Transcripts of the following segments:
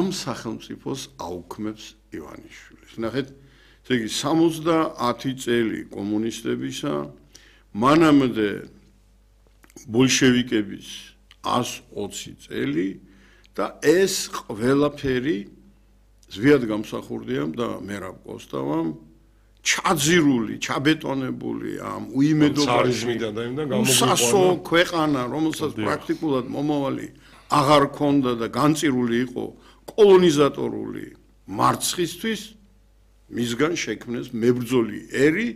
ამ სახელმწიფოს აუქმებს ივანიშვილი. ნახეთ, ესე იგი 70 წელი კომუნისტებისა, მანამდე ბოლშევიკების 120 წელი და ეს ყველაფერი ზვიად გამსახურდიამ და მერაბ კოსტავამ ჩაძირული, ჩაბეტონებული ამ უიმედობაში სასო ქვეყანა, რომელსაც პრაქტიკულად მომავალი აღარ ქონდა და განწირული იყო კოლონიზატორული მარცხისთვის, მისგან შექმნეს მებრძოლი ერი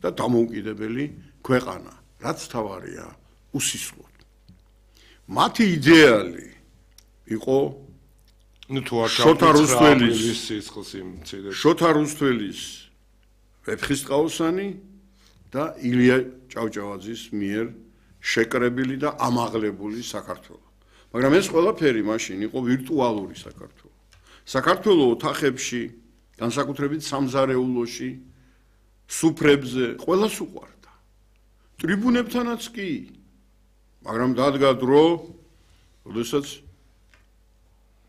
და დამოუკიდებელი ქვეყანა, რაც თავარია უსისხლოდ. მათი იდეალი იყო შოთა რუსთველის ვეფხისტყაოსანი და ილია ჭავჭავაძის მიერ შეკრებილი და ამაღლებული საქართველო. მაგრამ ეს ყველაფერი მაშინ იყო ვირტუალური საქართველო. საქართველო ოთახებში, განსაკუთრებით სამზარეულოში, სუფრებზე ყველას უყვარდა. ტრიბუნებთანაც კი. მაგრამ დადგა დრო, როდესაც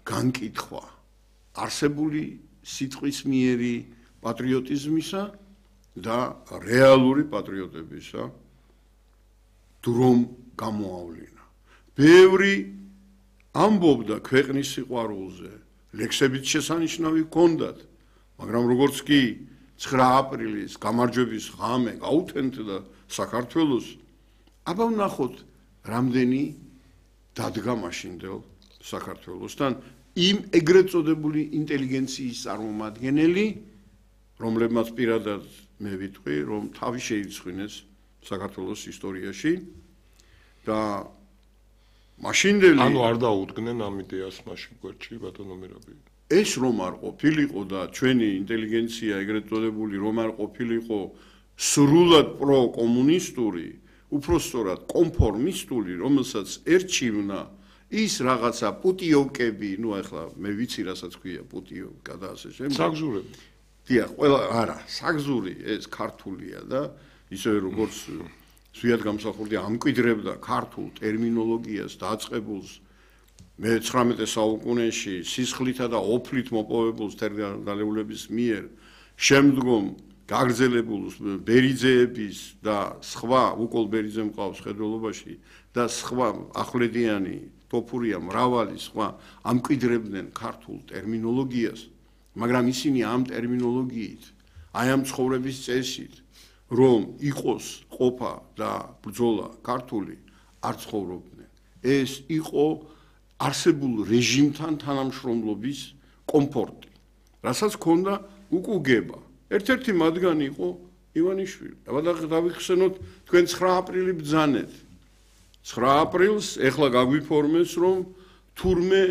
განკითხვა არსებული სიტყვის მიერი პატრიოტიზმისა და რეალური პატრიოტებისა დრომ გამოავლინა. ბევრი ამბობდა ქვეყნის სიყვარულზე, ლექსებით შესანიშნავი ჰქონდათ, მაგრამ როგორც კი 9 აპრილის გამარჯვების ღამე გაუთენდა საქართველოს, აბა ვნახოთ რამდენი დადგა მაშინდელ საქართველოსთან იმ ეგრეთ წოდებული ინტელიგენციის წარმომადგენელი, რომლებმაც პირადად მე ვიტყვი, რომ თავი შეიცხვინეს საქართველოს ისტორიაში და მაშინდელი ანუ არ დაუდგნენ ამ იდეას მაშინ გვერდში ბატონო მერაბი. ეს რომ არ ყოფილიყო და ჩვენი ინტელიგენცია ეგრეთ წოდებული რომ არ ყოფილიყო სრულად პროკომუნისტური, უпростоრად კონფორმისტული, რომელსაც ერჩივნა ის რაღაცა პუტიოვკები, ნუ ახლა მე ვიცი რასაც ქვია პუტიოვკა და ასე შემდეგ. საგზურები. დიახ, ყველა არა, საგზური ეს ქართულია და ისევე როგორც ზვიად გამსახურდია ამკვიდრებდა ქართულ ტერმინოლოგიას დაწყებულს მე-19 საუკუნეში სისხლითა და ოფლით მოპოვებულს თერგდალეულების მიერ, შემდგომ გაგრძელებულს ბერიძეების და სხვა უკოლ ბერიძე მყავს ხედველობაში და სხვა ახვლედიანი ტოფურია მრავალი სხვა ამკვიდრებდნენ ქართულ ტერმინოლოგიას, მაგრამ ისინი ამ ტერმინოლოგიით, აი ამ ცხოვრების წესით, რომ იყოს ყოფა და ბრძოლა ქართული არ ცხოვრობდნენ. ეს იყო არსებულ რეჟიმთან თანამშრომლობის კომფორტი, რასაც ჰქონდა უკუგება. ერთ-ერთი მათგანი იყო ივანიშვილი. დავიხსენოთ თქვენ 9 აპრილი ბრძანეთ. 9 აპრილს ეხლა გაგვიფორმეს, რომ თურმე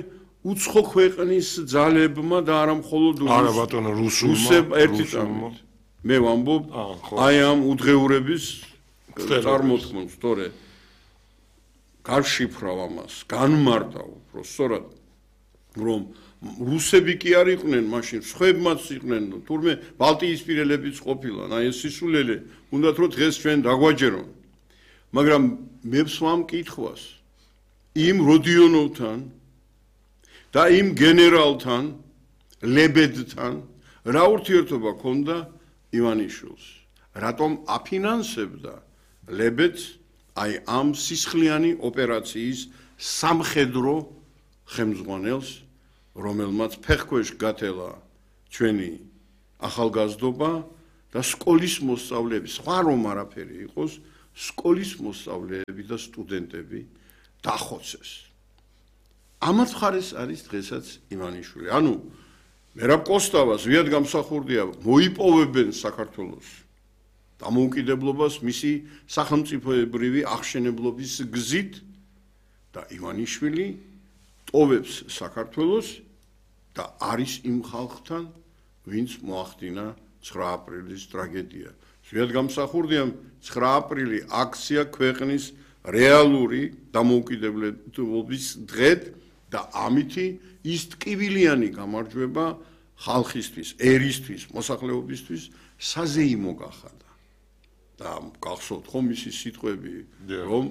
უცხო ქვეყნის ძალებმა და არა მხოლოდ არა ბატონო რუსულმა ერთი წამით. მე ვამბობ აი ამ უძღეურების წარმოთქმას, თორე გარშიფრავ ამას, განმარტა უფრო სწორად, რომ რუსები კი არ იყვნენ მაშინ, სხვებმაც იყვნენ, თურმე ბალტიისპირელებიც ყოფილან, აი ეს სისულელე, უნდათ რომ დღეს ჩვენ დაგვაჯერონ. მაგრამ მე ვსვამ კითხვას, იმ როდიონოვთან და იმ გენერალთან, ლებედთან, რა ურთიერთობა ჰქონდა ივანიშვილს? რატომ აფინანსებდა ლებედს აი ამ სისხლიანი ოპერაციის სამხედრო ხელმძღვანელს, რომელმაც ფეხქვეშ გათელა ჩვენი ახალგაზრდობა და სკოლის მოსწავლეები, სხვა რომ არაფერი იყოს, სკოლის მოსწავლეები და სტუდენტები დახოცეს. ამათ მხარეს არის დღესაც ივანიშვილი. ანუ მერაბ კოსტავას ზვიად გამსახურდია მოიპოვებენ საქართველოს დამოუკიდებლობას მისი სახელმწიფოებრივი აღშენებლობის გზით და ივანიშვილი ტოვებს საქართველოს და არის იმ ხალხთან, ვინც მოახდინა 9 აპრილის ტრაგედია. ზვიად გამსახურდიამ 9 აპრილი აქცია ქვეყნის რეალური დამოუკიდებლობის დღედ და ამითი ის ტკივილიანი გამარჯვება ხალხისთვის, ერისთვის, მოსახლეობისთვის საზეიმო გახადა. და გახსოვთ ხომ მისი სიტყვები, რომ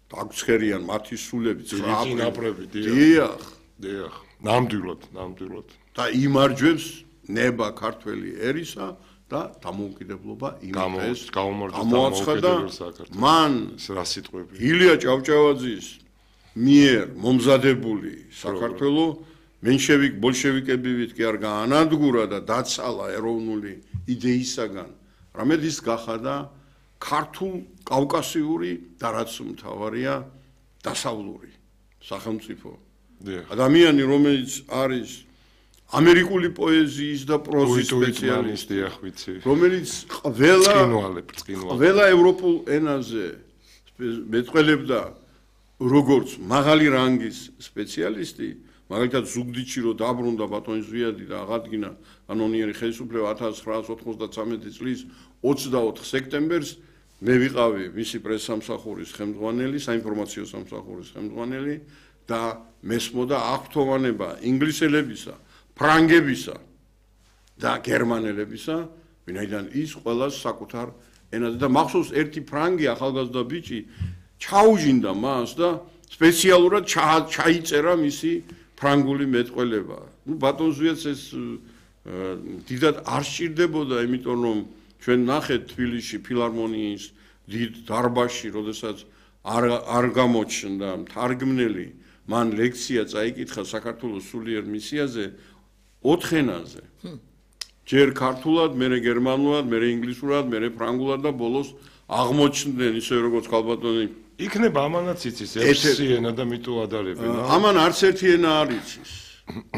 დაგცხერიან მათი სულები 9 აპრილს. დიახ. ნამდვილად. და იმარჯვებს ნება ქართველი ერისა და დამოუკიდებლობა იმის გამოაცხადა მან რა სიტყვები ილია ჭავჭავაძის მიერ მომზადებული საქართველო მენშევიკ ბოლშევიკებივით კი არ გაანადგურა და დაცალა ეროვნული იდეისაგან რამედ ის გახადა ქართულ კავკასიური და რაც მთავარია დასავლური სახელმწიფო ადამიანი რომელიც არის ამერიკული პოეზიის და პროზის სპეციალისტი რომელიც ყველა ევროპულ ენაზე მეტყველებდა როგორც მაღალი რანგის სპეციალისტი მაგალითად ზუგდიდში რო დაბრუნდა ბატონი ზვიადი და აღადგინა კანონიერი ხელისუფლება 1993 წლის 24 სექტემბერს მე ვიყავი მისი პრესსამსახურის ხელმძღვანელი საინფორმაციო სამსახურის ხელმძღვანელი და მესმოდა აღფრთოვანება ინგლისელებისა ფრანგებისა და გერმანელებისა, ვინაიდან ის ყველას საკუთარ ენაზე და მახსოვს ერთი ფრანგი ახალგაზრდა ბიჭი ჩაუჟინდა მას და სპეციალურად ჩაიწერა მისი ფრანგული მეტყველება. ნუ ბატონ ზვიადს ეს დიდად არ სჭირდებოდა, იმიტომ რომ ჩვენ ნახეთ თბილისში ფილარმონიის დიდ დარბაზში, როდესაც არ გამოჩნდა მთარგმნელი, მან ლექცია წაიკითხა საქართველოს სულიერ მისიაზე 4 ენაზე. ჯერ ქართულად, მერე გერმანულად, მერე ინგლისურად, მერე ფრანგულად და ბოლოს აღმოჩნდნენ ისე როგორც ქალბატონი. იქნება ამანაც იცის ერთი ენა და მიტო ადარებენ. ამან არც ერთი ენა არ იცის.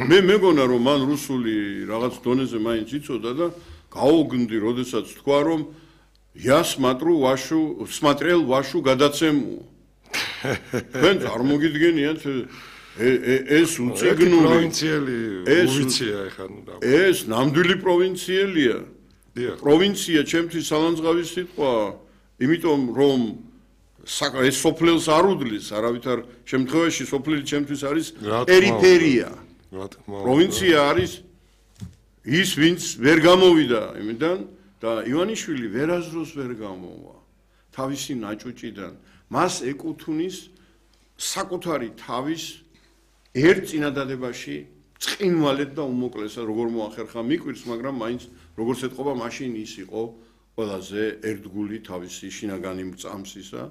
მე მეგონა რომ მან რუსული რაღაც დონეზე მაინც იცოდა და გაუგნდი, როდესაც თქვა რომ я смотрел вашу გადაცემу. თქვენ წარმოგიდგენიათ ეს უციგნული პროვინციელი უვიცია ეხლა ნუ და ეს ნამდვილი პროვინციელია პროვინცია ჩემთვის სალანძღავის სიტყვა იმიტომ რომ ეს სოფლელს არ უდლის არავითარ შემთხვევაში სოფლელი ჩემთვის არის პერიფერია პროვინცია არის ის ვინც ვერ გამოვიდა იმიდან და ივანიშვილი ვერაზროს ვერ გამოვა თავისი ნაჭუჭიდან მას ეკუთვნის საკუთარი თავის ერთ წინადადებაში წყინვალედ და უმოკლესად როგორ მოახერხა მიკვირს, მაგრამ მაინც როგორც ეთყობა მაშინ ის იყო ყველაზე ერთგული თავისი შინაგანი მწამსისა,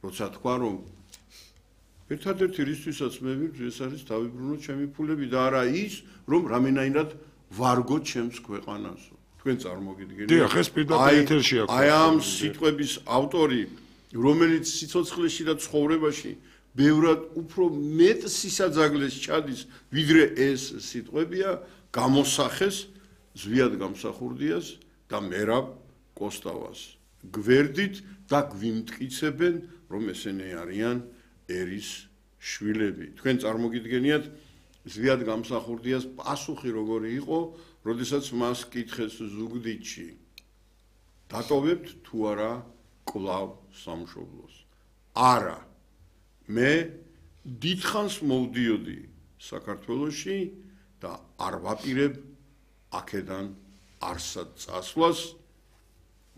როცა თქვა რომ ერთადერთი რისთვისაც მე ვიბრძვი ეს არის დავიბრუნო ჩემი ფულები და არა ის რომ რამენაირად ვარგო ჩემს ქვეყანასო. თქვენ წარმოგიდგენთ? დიახ, ეს პირდაპირ ეთერში აქვს. აი ამ სიტყვების ავტორი, რომელიც სიცოცხლეში და ცხოვრებაში ბევრად უფრო მეტ სისაძაგლეს ჩადის, ვიდრე ეს სიტყვებია, გამოსახეს ზვიად გამსახურდიას და მერაბ კოსტავას. გვერდით და გვიმტკიცებენ, რომ ესენი არიან ერის შვილები. თქვენ წარმოგიდგენიათ ზვიად გამსახურდიას პასუხი როგორი იყო, როდესაც მას კითხეს ზუგდიდში. დატოვებთ თუ არა კლავ სამშობლოს? არა. მე დიდხანს მოვდიოდი საქართველოში და არ ვაპირებ აქედან არსად წასვლას.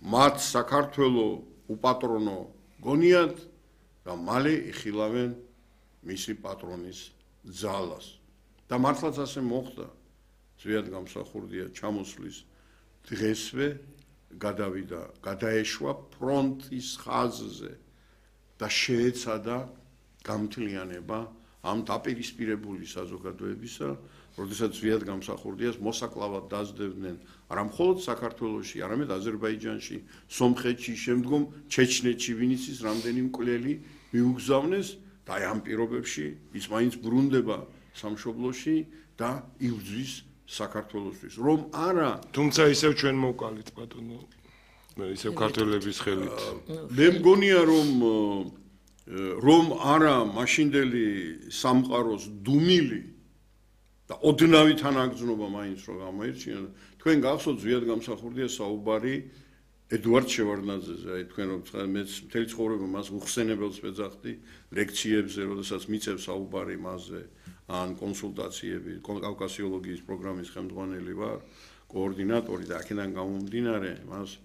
მათ საქართველო უპატრონო გონიათ და მალე იხილავენ მისი პატრონის ძალას. და მართლაც ასე მოხდა. ზვიად გამსახურდია ჩამოსვლის დღესვე გადავიდა, გადაეშვა ფრონტის ხაზზე და შეეცადა გამთლიანება ამ დაპირისპირებული საზოგადოებისა, როდესაც ზვიად გამსახურდიას მოსაკლავად დაძდევდნენ არა მხოლოდ საქართველოში, არამედ აზერბაიჯანში, სომხეთში, შემდგომ ჩეჩნეთში, ვინც ის რამდენი მკვლელი მიუგზავნეს და აი ამ პირობებში ის მაინც ბრუნდება სამშობლოში და იბრძვის საქართველოსთვის. რომ არა, თუმცა ისევ ჩვენ მოვკალით ბატონო, ისევ ქართველების ხელით. მე მგონია რომ არა მაშინდელი სამყაროს დუმილი და ოდნავი თანაგრძნობა მაინც რო გამოირჩინა. თქვენ გახსოვთ ზვიად გამსახურდია საუბარი ედუარდ შევარდნაძეზე, აი თქვენ რომ მე მთელი ცხოვრება მას უხსენებელს ვეძახდი ლექციებზე, როდესაც მიწევს საუბარი მასზე, ან კონსულტაციები, კავკასიოლოგიის პროგრამის ხელმძღვანელი ვარ, კოორდინატორი და აქედან გამომდინარე, მას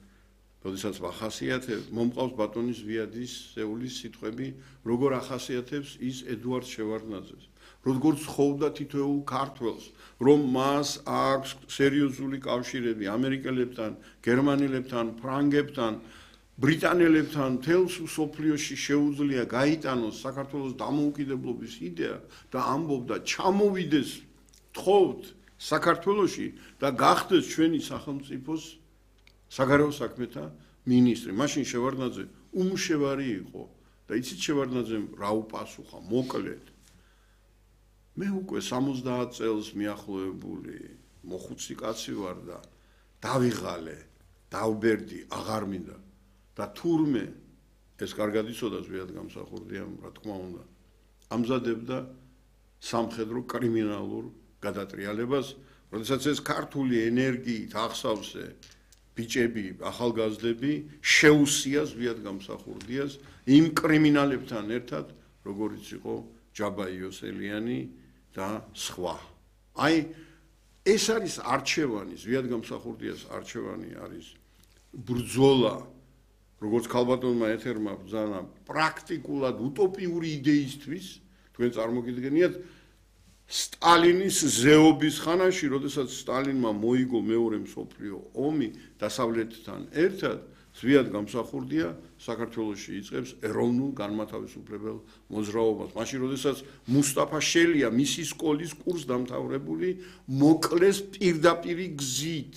როდესაც ვახასიათებ, მომყავს ბატონის ზვიადის სეულის სიტყვები, როგორ ახასიათებს ის ედუარდ შევარდნაძეს. როგორც ხოვდა თითოეულ ქართველს, რომ მას აქვს სერიოზული კავშირები ამერიკელებთან, გერმანელებთან, ფრანგებთან, ბრიტანელებთან, მთელს მსოფლიოში შეუძლია გაიტანოს საქართველოს დამოუკიდებლობის იდეა და ამბობდა ჩამოვიდეს თხოვთ საქართველოში და გახდეს ჩვენი სახელმწიფოს საგარეო საქმეთა მინისტრი. მაშინ შევარდნაძე უმშევარი იყო და იცით შევარდნაძემ რა უპასუხა მოკლედ. მე უკვე 70 წელს მიახლოებული მოხუცი კაცი ვარ და დავიღალე, დავბერდი, აღარ მინდა და თურმე ეს კარგად იცოდა ზვიად გამსახურდიამ, რა თქმა უნდა, ამზადებდა სამხედრო კრიმინალურ გადატრიალებას, როდესაც ეს ქართული ენერგიით ახსავსე ბიჭები, ახალგაზრდები შეუსია ზვიად გამსახურდიას იმ კრიმინალებთან ერთად, როგორიც იყო ჯაბა იოსელიანი და სხვა. აი, ეს არის არჩევანი, ზვიად გამსახურდიას არჩევანი არის ბრძოლა, როგორც ქალბატონმა ეთერმა ბრძანა პრაქტიკულად უტოპიური იდეისთვის, თქვენ წარმოგიდგენიათ სტალინის ზეობის ხანაში, როდესაც სტალინმა მოიგო მეორე მსოფლიო ომი დასავლეთთან ერთად, ზვიად გამსახურდია საქართველოში იწყებს ეროვნულ განმათავისუფლებელ მოძრაობას. მაშინ, როდესაც მუსტაფა შელია მისი სკოლის კურსდამთავრებული, მოკლეს პირდაპირი გზით.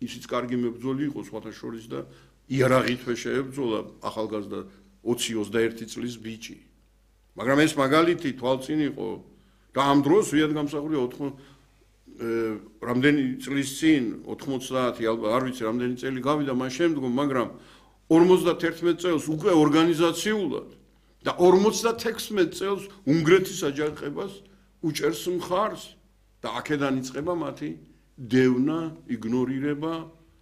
ისიც კარგი მებრძოლი იყო სხვათა შორის და იარაღითვე შეებრძოლა ახალგაზრდა 20-21 წლის ბიჭი. მაგრამ ეს მაგალითი თვალწინ იყო და ამ დროს ზვიად გამსახურდია რამდენი წლის წინ 90 არ ვიცი რამდენი წელი გავიდა მას შემდგომ, მაგრამ 51 წელს უკვე ორგანიზაციულად და 56 წელს უნგრეთის აჯანყებას უჭერს მხარს და აქედან იწყება მათი დევნა, იგნორირება,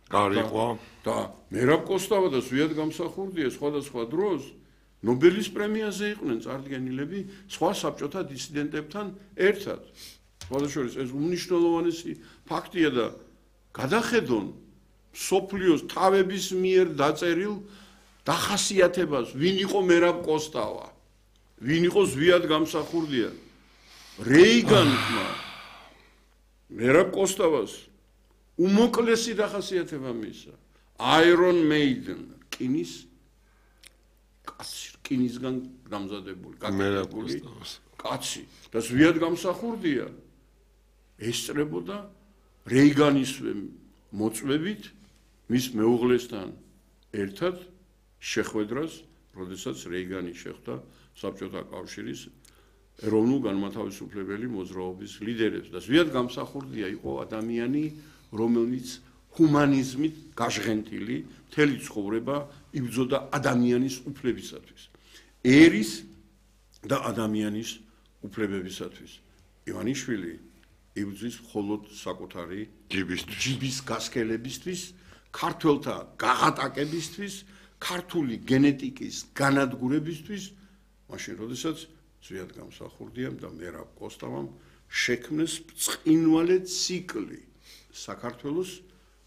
გარიყვა და მერაბ კოსტავა და ზვიად გამსახურდია სხვადასხვა დროს ნობელის პრემიაზე იყვნენ წარდგენილები სხვა საბჭოთა დისიდენტებთან ერთად. სხვადასხვა ეს უმნიშვნელოვანესი ფაქტია და გადახედონ სოფლიოს თავების მიერ დაწერილ დახასიათებას, ვინ იყო მერაბ კოსტავა, ვინ იყო ზვიად გამსახურდია. რეიგანმა მერაბ კოსტავას უმოკლესი დახასიათება მისცა. Iron Maiden, რკინისგან გამზადებული, გაკეთებული კაცი და ზვიად გამსახურდია ესწრებოდა რეიგანისვე მოწვევით მის მეუღლესთან ერთად შეხვედრას, როდესაც რეიგანი შეხვდა საბჭოთა კავშირის ეროვნულ განმათავისუფლებელი მოძრაობის ლიდერებს და ზვიად გამსახურდია იყო ადამიანი, რომელიც ჰუმანიზმით გაჟღენთილი მთელი ცხოვრება იბრძოდა ადამიანის უფლებისათვის, ერის და ადამიანის უფლებებისათვის. ივანიშვილი იბრძვის მხოლოდ საკუთარი ჯიბის გასქელებისთვის, ქართველთა გაღატაკებისთვის, ქართული გენეტიკის განადგურებისთვის, მაშინ როდესაც ზვიად გამსახურდიამ და მერაბ კოსტავამ შექმნეს ბრწყინვალე ციკლი საქართველოს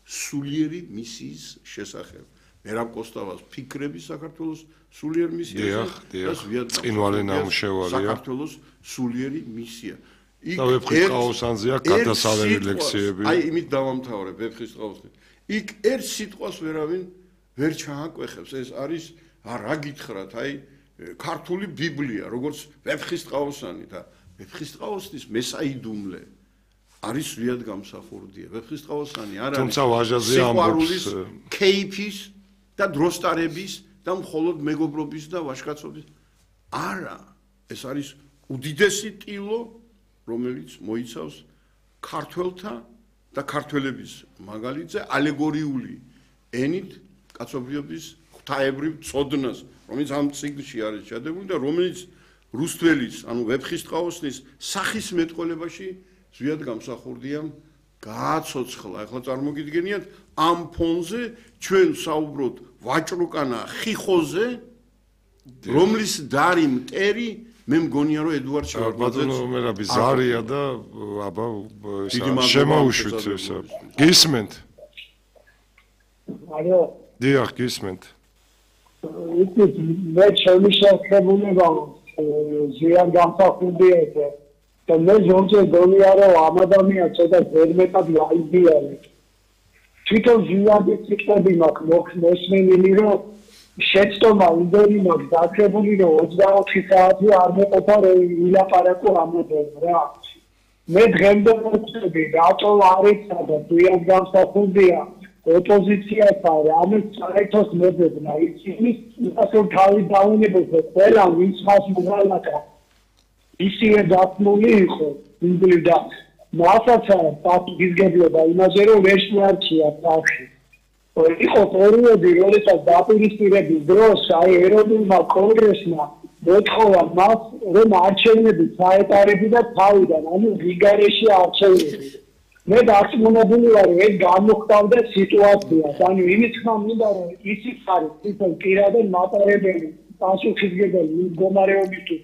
სულიერი მისიის შესახებ. მერაბ კოსტავას ფიქრები საქართველოს სულიერ მისიაზე და ზვიად საქართველოს სულიერი მისია. და ვეფხისტყაოსანზეა გადასალევი ლექციები. აი, იმით დავამთავრებ ვეფხისტყაოსნით. იქ ერთ სიტყვას ვერავინ ვერ ჩააკვეხებს. ეს არის რა გითხრათ, აი ქართული ბიბლია, როგორც ვეფხისტყაოსანი და ვეფხისტყაოსნის მესაიდუმლე არის ზვიად გამსახურდია. ვეფხისტყაოსანი არ არის სიყვარულის, კეიფის და დროსტარების და მხოლოდ მეგობრობის და ვაჟკაცობის. არა, ეს არის უდიდესი ტილო, რომელიც მოიცავს ქართველთა და ქართველების მაგალითზე ალეგორიული ენით კაცობრიობის ღვთაებრივ წოდნას, რომელიც ამ წიგნში არის ჩადებული და რომელიც რუსთველის, ანუ ვეფხისტყაოსნის სახის მეტყოლებაში ზვიად გამსახურდიამ გააცოცხლა. ახლა წარმოგიდგენიათ ამ ფონზე ჩვენ საუბრობთ ვაჭრუკანა ხიხოზე, რომლის დარი მტერი მე მგონია რომ ედუარდ შევარდნაძეც ბატონო მერაბი ზარია და აბა შემოუშვით ესა. გისმენთ? ალო. დიახ, გისმენთ. მე შემიშექებუნება ზვიად გამსახურდიაზე და მე ზოგჯერ გონია რომ ამ ადამიანს ცოტა ზერმეტად გაიგიარი. თვითონ ზიადის ციტები მაქვს მოსმენილი რომ შეცდომა იმდენი მაქვს დაგებული რომ 24 საათი არ მეყოფა რომ ვილაპარაკო ამაზე რა. მე დღემდე მოწები რატო არ ეცადა ზიად გამსახურდია ოპოზიციასთან რამე საერთოდ მეძებნა ისინი ასე თავი დაუნებოს ყველა ვინც მას მოვალაკა ისინი დათმული იყო იმბლიდა მასაც პატივისგებლობა იმაზე რომ ვერ შეარჩია სახში იყო პერიოდი როდესაც დაპირისპირების დროს აი ეროვნულმა კონგრესმა მოთხოვა მას რომ არჩევნები ჩაეტარებინა თავიდან ანუ რიგარეში არჩევნები მე დარწმუნებული ვარ რომ ეს გამოხდავდა სიტუაციას ანუ იმით მინდა რომ ისიც არის თვითონ პირადად მატარებელი პასუხისმგებელი მდგომარეობისთვის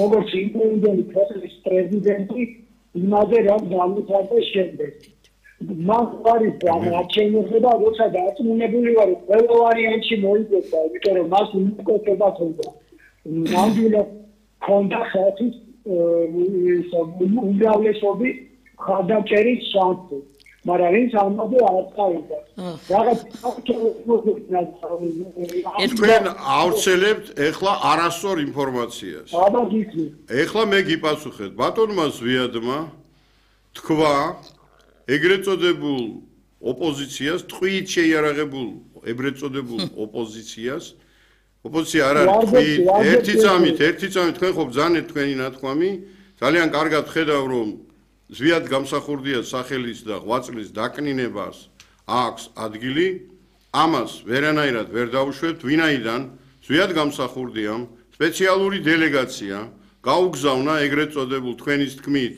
როგორც იმპერიული ქვეყნის პრეზიდენტი იმაზე რა გამოცხადდა შემდეგ მას არის არჩევნებზე და როცა დარწმუნებული ვარ რომ ყველა ვარიანტში მოიგებდა იმიტომ რომ მას უმკეთება ხონდა ნამდვილად ხონდა ხალხის უმრავლესობის ხარდაჭერის შანსი მაგრამ ის ამაზე არ წავიდა რაღაც თქვენ ავრცელებთ ეხლა არასწორ ინფორმაციას აბა გიქნი ეხლა მე გიპასუხეთ ბატონმა ზვიადმა თქვა ეგრეთ წოდებულ ოპოზიციას ტყვით შეიარაღებულ ეგრეთ წოდებულ ოპოზიციას ოპოზიცია არ არის ტყვით ერთი წამით თქვენ ხო ბრძანეთ თქვენი ნათქვამი ძალიან კარგად ხედავ რომ ზვიად გამსახურდია სახელის და ღვაწლის დაკნინებას აქვს ადგილი ამას ვერანაირად ვერ დაუშვებთ ვინაიდან ზვიად გამსახურდიამ სპეციალური დელეგაცია გაუგზავნა ეგრეთ წოდებულ თქვენის თქმით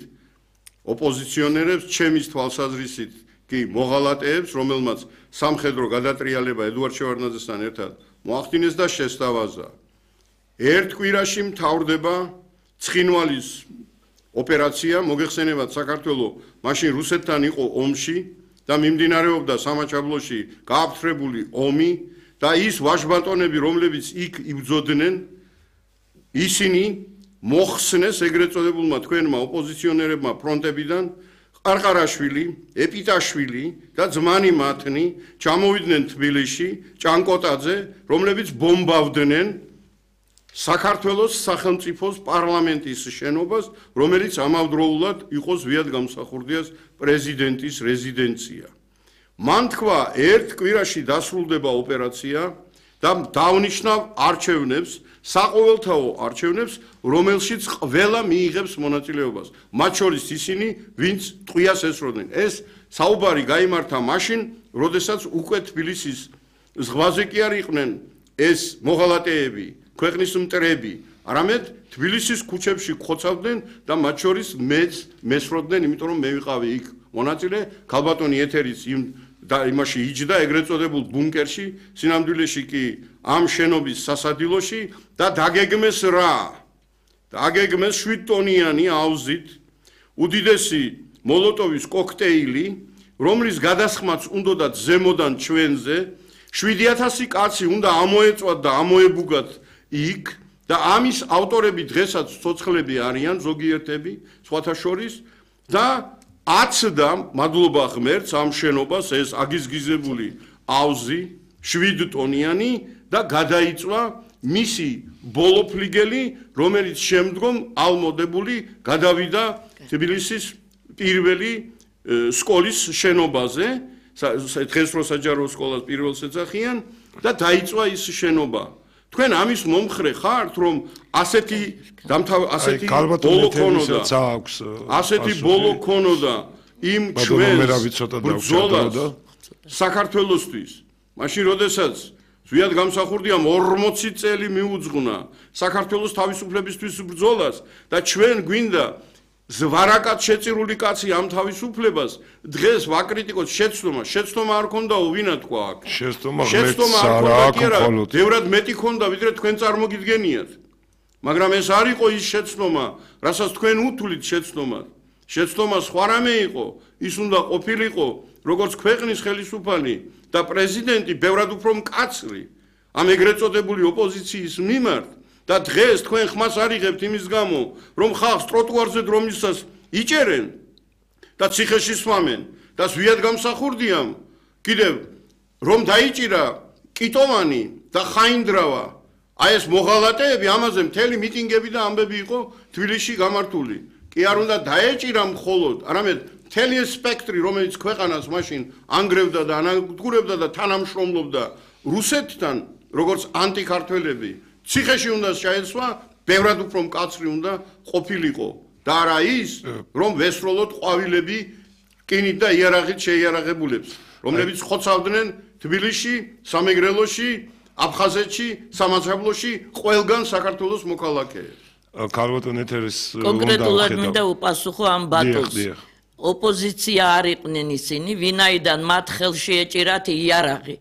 ოპოზიციონერებს ჩემის თვალსაზრისით კი მოღალატეებს რომელმაც სამხედრო გადატრიალება ედუარდ შევარდნაძესთან ერთად მოახდინეს და შესთავაზა ერთ კვირაში მთავრდება ცხინვალის ოპერაცია მოგეხსენებათ საქართველოს მაშინ რუსეთთან იყო ომში და მიმდინარეობდა სამაჩაბლოში გააფთრებული ომი და ის ვაჟბატონები რომლებიც იქ იბრძოდნენ ისინი მოხსნეს ეგრეთ წოდებულმა თქვენმა ოპოზიციონერებმა ფრონტებიდან ყარყარაშვილი, ეპიტაშვილი და ძმანი მათნი ჩამოვიდნენ თბილისში ჭანკოტაძე რომლებიც ბომბავდნენ საქართველოს სახელმწიფოს პარლამენტის შენობას, რომელიც ამავდროულად იყო ზვიად გამსახურდიას პრეზიდენტის რეზიდენცია. მან თქვა, ერთ კვირაში დასრულდება ოპერაცია და დავნიშნავ არჩევნებს, საყოველთაო არჩევნებს, რომელშიც ყველა მიიღებს მონაწილეობას. მათ შორის ისინი, ვინც ტყვიას ესროდნენ. ეს საუბარი გაიმართა მაშინ, როდესაც უკვე თბილისის ზღვაზე კი არ იყვნენ ეს მოღალატეები. ქვეყნის მტრები, არამედ თბილისის ქუჩებში ხოცავდნენ და მათ შორის მეც მესროდნენ, იმიტომ რომ მე ვიყავი იქ მონაწილე, ქალბატონი ეთერის იმაში იჯდა ეგრეთ წოდებულ ბუნკერში, სინამდვილეში კი ამ შენობის სასადილოში და დაგეგმეს რა? დაგეგმეს 7 ტონიანი აუზით უდიდესი მოლოტოვის კოქტეილი, რომლის გადასხმაც უნდათ ზემოდან ჩვენზე 7000 კაცი უნდა ამოეწვათ და ამოებუგათ იქ და ამის ავტორები დღესაც ცოცხლები არიან ზოგიერთები სხვათა შორის და აცდა მადლობა ღმერთს ამ შენობას ეს აგიზგიზებული აუზი 7 ტონიანი და გადაიწვა მისი ბოლოფლიგელი რომელიც შემდგომ ალმოდებული გადავიდა თბილისის პირველი სკოლის შენობაზე დღეს რო საჯარო სკოლას პირველს ეძახიან და დაიწვა ის შენობა თქვენ ამის მომხრე ხართ რომ ასეთი ბოლო ქონოდა იმ ჩვენს ბრძოლას საქართველოსთვის მაშინ როდესაც ზვიად გამსახურდიამ 40 წელი მიუძღვნა საქართველოს თავისუფლებისთვის ბრძოლას და ჩვენ გვინდა ზვარაკად შეწირული კაცი ამ თავისუფლებას დღეს ვაკრიტიკოთ შეცდომა არ ქონდაო ვინა თქვა აქ შეცდომა არ ქონდა ბევრად მეტი ქონდა ვიდრე თქვენ წარმოგიდგენიათ მაგრამ ეს არ იყო ის შეცდომა რასაც თქვენ უთვლით შეცდომა სხვა რამე იყო ის უნდა ყოფილიყო როგორც ქვეყნის ხელისუფალი და პრეზიდენტი ბევრად უფრო მკაცრი ამ ეგრეთ წოდებული ოპოზიციის მიმართ და დღეს თქვენ ხმას არიღებთ იმის გამო, რომ ხალხს ტროტუარზე დრომისას იჭერენ და ციხეში სვამენ და ზვიად გამსახურდიამ, კიდევ რომ დაიჭირა კიტოვანი და ხაინდრავა, აი ეს მოღალატეები, ამაზე მთელი მიტინგები და ამბები იყო თბილისში გამართული. კი არ უნდა დაეჭირა მხოლოდ, არამედ მთელი ეს სპექტრი, რომელიც ქვეყანას მაშინ ანგრევდა და ანადგურებდა და თანამშრომლობდა რუსეთთან, როგორც ანტიქართველები, ციხეში უნდა შეეცვა, ბევრად უფრო მკაცრი უნდა ყოფილიყო და არა ის, რომ ვესროლოთ ყვავილები რკინით და იარაღით შეიარაღებულებს, რომლებიც ხოცავდნენ თბილისში, სამეგრელოში, აფხაზეთში, სამაცაბლოში, ყველგან საქართველოს მოქალაქეებს. ქალბატონ ეთერის კონკრეტულად მინდა უპასუხო ამ ბატონს. ოპოზიცია არ იყვნენ ისინი, ვინაიდან მათ ხელში ეჭირათ იარაღი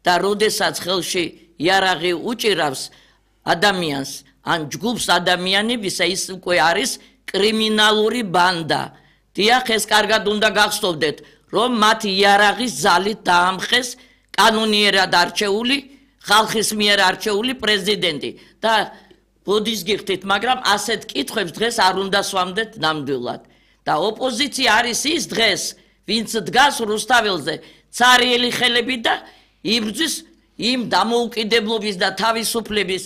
და როდესაც ხელში იარაღი უჭირავს ადამიანს, ან ჯგუფს ადამიანებისა, ის უკვე არის კრიმინალური ბანდა. დიახ, ეს კარგად უნდა გახსოვდეთ, რომ მათ იარაღის ძალით დაამხეს კანონიერად არჩეული, ხალხის მიერ არჩეული პრეზიდენტი და ბოდის გიხდით, მაგრამ ასეთ კითხვებს დღეს არ უნდა სვამდეთ ნამდვილად. და ოპოზიცია არის ის დღეს, ვინც დგას რუსთაველზე, ცარიელი ხელები და იბრძვის იმ დამოუკიდებლობის და თავისუფლების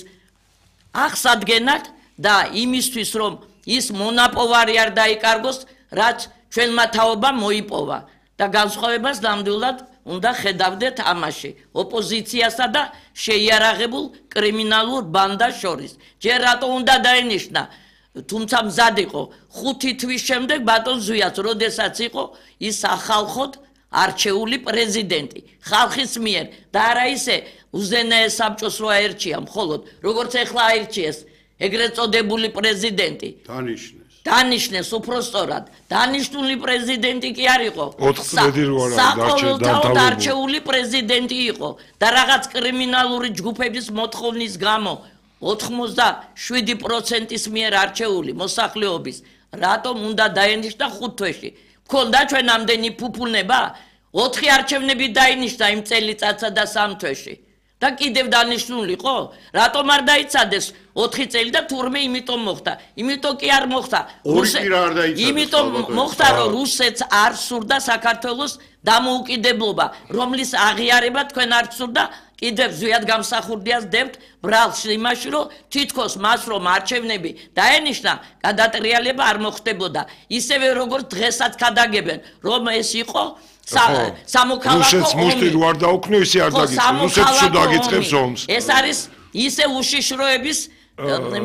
აღსადგენად და იმისთვის, რომ ის მონაპოვარი არ დაიკარგოს, რაც ჩვენმა თაობამ მოიპოვა და განსხვავებას ნამდვილად უნდა ხედავდეთ ამაში ოპოზიციასა და შეიარაღებულ კრიმინალურ ბანდას შორის. ჯერ რატო უნდა დაენიშნა, თუმცა მზად იყო 5 თვის შემდეგ ბატონ ზვიას, როდესაც იყო ის ახალხოდ არჩეული პრეზიდენტი ხალხის მიერ და არა ისე უზენაეს საბჭოს რო აერჩია მხოლოდ, როგორც ეხლა აერჩიეს ეგრეთ წოდებული პრეზიდენტი. დანიშნეს უпростоრად. დანიშნული პრეზიდენტი კი არ იყო. 4 წელი რო არა საყოველთაოდ არჩეული პრეზიდენტი იყო და რაღაც კრიმინალური ჯგუფების მოთხოვნის გამო 87%-ის მიერ არჩეული მოსახლეობის რატომ უნდა დაენიშნა 5 თვეში? მქონდა ჩვენ ამდენი ფუფუნება? 4 არჩევნები დაინიშნა იმ წელიწადსა და 3 თვეში. და კიდევ დანიშნული ხო? რატომ არ დაიცადეს 4 წელი და თურმე იმიტომ მოხდა. იმიტომ კი არ მოხდა. იმიტომ მოხდა, რომ რუსეთს არ სურდა საქართველოს დამოუკიდებლობა, რომლის აღიარება თქვენ არ სურდა, კიდევ ზვიად გამსახურდიას დებთ ბრალს იმაში, რომ თითქოს მას რომ არჩევნები დაენიშნა, გადატრიალება არ მოხდებოდა. ისევე როგორც დღესაც ქადაგებენ, რომ ეს იყო სამოქალაქო რუსეთს მუშტი რო არ დაუქნიო, ისე არ დაგიწყებს. რუსეთს რო დაგიწყებს ომს. ეს არის ისე უშიშროების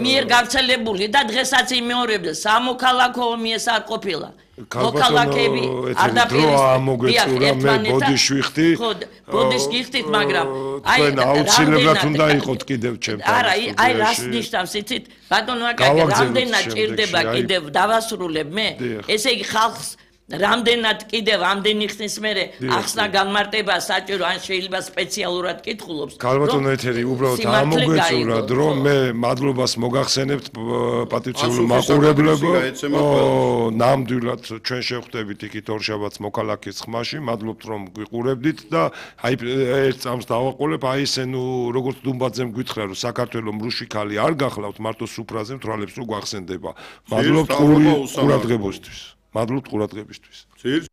მიერ გავრცელებული და დღესაც იმეორებდა სამოქალაქო ომი ეს არ ყოფილა. მოქალაქეები არ დაპირისპირდა მე ბოდიშ ვიხდი. ხო, ბოდიშ გიხდით, მაგრამ აი აუცილებლად უნდა იყოთ კიდევ ჩემთან. არა, აი რას ნიშნავს იცით? ბატონო აკაკი, რამდენად ჭირდება კიდევ დავასრულებ მე? ესე იგი ხალხს რამდენად კიდევ ამდენი ხნის მერე ახსნა განმარტება საჭირო, ან შეიძლება სპეციალურად კითხულობს. ქალბატონო ეთერი, უბრალოდ ამოგვეწურა დრო, მე მადლობას მოგახსენებთ პატივცემულ მაყურებლებო. ნამდვილად ჩვენ შევხვდებით იქით ორშაბათს მოქალაქის ხმაში, მადლობთ რომ გვიყურებდით და აი ერთ წამს დავაყოლებ, აი ესე ნუ როგორც დუმბაძემ გითხრა რომ საქართველოს მრუშიქალი არ გახლავთ, მარტო სუფრაზე მთვრალებს რო გვახსენდება. მადლობთ ყურადღებისთვის. მადლობთ ყურადღებისთვის.